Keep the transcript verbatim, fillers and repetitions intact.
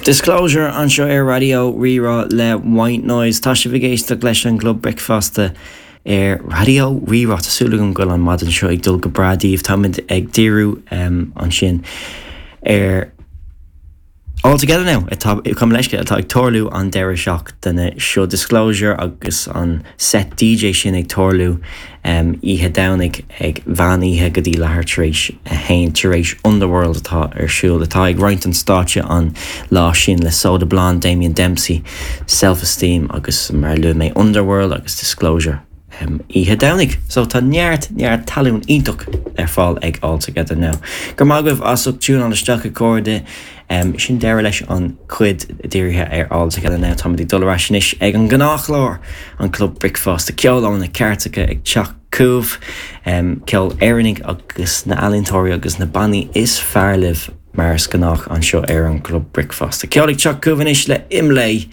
Disclosure anseo ar Raidió Rí-Rá le White Noise Tá sibh ag éisteacht leis an gClub Bricfeasta ar Raidió Rí-Rá Tá súil agam go bhfuil an maidin seo ag dul go breá daoibh Táimid ag díriú um, ansin ar All Together Now atá cum leisce atá ag tarlú an deireadh seachtaine seo Disclosure agus an set DJ sin ag tarlú um, oíche Domhnaigh ag meán oíche go dtí leathuair tar éis a haon tar éis Underworld atá ar siúl atá ag roinnt an stáitse an lá sin le Soda Blonde, Damien Dempsey, Self-Esteem agus mar a luaigh mé Underworld agus Disclosure. Um, oíche Domhnaigh, so tá neart neart talún iontach ar fáil ag All Together Now. Gur maith as ucht tiúnáil isteach a chairde um, sin deireadh leis an chuid dírithe ar All Together Now Tá dul ar ais anois ag an ngnáthchlár an Club Bricfeasta ceol ó na cairteacha ag teacht chugaibh um, ceol Éireannach agus na healaíontóirí agus na bannaí is fearr libh mar is gnách anseo ar an Club Bricfeasta. Ceol ag teacht chugaibh anois le Imlé